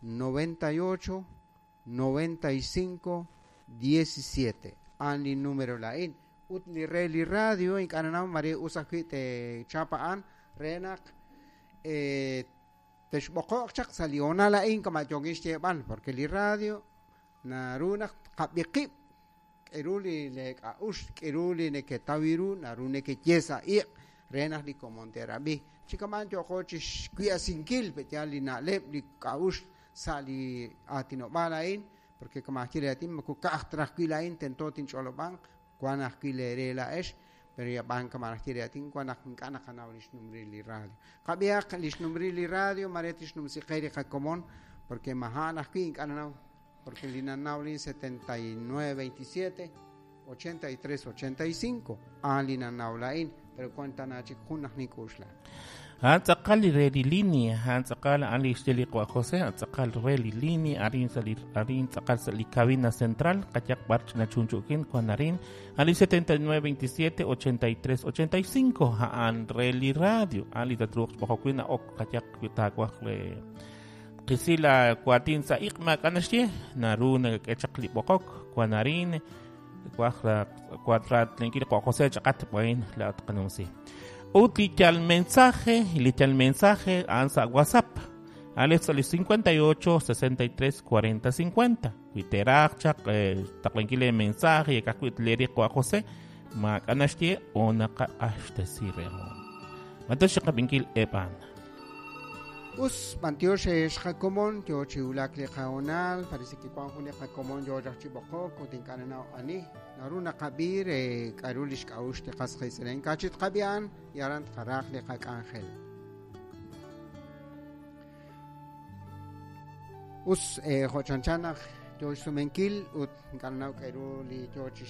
98 95 17. A'an li numero laa'in. Ut li re li radio ink'a' nanaw mare us ajwi' techap a'an re naq texb'oqo'q chaq sa' li hoonal a'in kama' yookin xyeeb'al, porque li radio naru naq tqab'i qib', k'eru li leek'a'uxl, k'eru li neketaw ru, naru nekeye sa' iq' re naq li komon te'rab'i. Chi kama'an yooqo chixkwi'asinkil pe'yaal li na'leb', li k'a'uxl sa' li aatinob'aal a'in, porque kama' ajwi' li aatin moko ka'aj ta ajwi' laa'in tento tinch'olob'anq, wan ajwi' leere laa'ex, pero yab'an kama' ajwi' li aatin wan naq ink'a' naqanaw lix numril li radio. Qab'ihaq lix numril li radio mare tixnumsi qe li qakomon, porque maja'an ajwi' ink'a' nanaw, porque li nanaw lin 79 27 83 85 a'an li nanaw laa'in, pero wan tana chik jun naq nink'uxla. A'an tz'aqal li re li línea, a'an tz'aqal a'an li xye li Qawa' José, a'an tz'aqal re li línea, arin sa' li arin tz'aqal sa' li cabina central, qayaq b'ar ch'ina chunchu'kin wan arin, a'an li 79 27 83 85, a'an re li radio, a'an li tatruuq xb'oqok wi' na'ok qayaq wi taawaj re qisi la waatin sa' iq' maak'a' naxye, naru nakak'e chaq li b'oqok wan arin, waj ratlenkil li Qawa' José chaqat b'ain laa'at qanumsi. Ut li yal mensaje, li yal mensaje a'an sa' WhatsApp. A'an sa' li 58 63 40 50. Wi teeraj chaq taqlankil le mensaje yakaj wi' tleeri Qawa' José, maak'a' naxye o naqaq'axtesi rehom. Mantiox xqab'inkil eb' a'an. Us, b'antiox xqakomon yo chi wulak li qahoonal, parece que wan jun li qakomon yo raj chi b'oqok ut ink'a' nanaw ani. Naru naqab'i re k'a'ru li xk'a'uxl li qas qiitz'in. Kachit qab'i a'an y aran tqaraj li qak'anjel. Us, jo' chanchan naq yo xsumenkil ut ink'a' nanaw k'a'ru li yo chi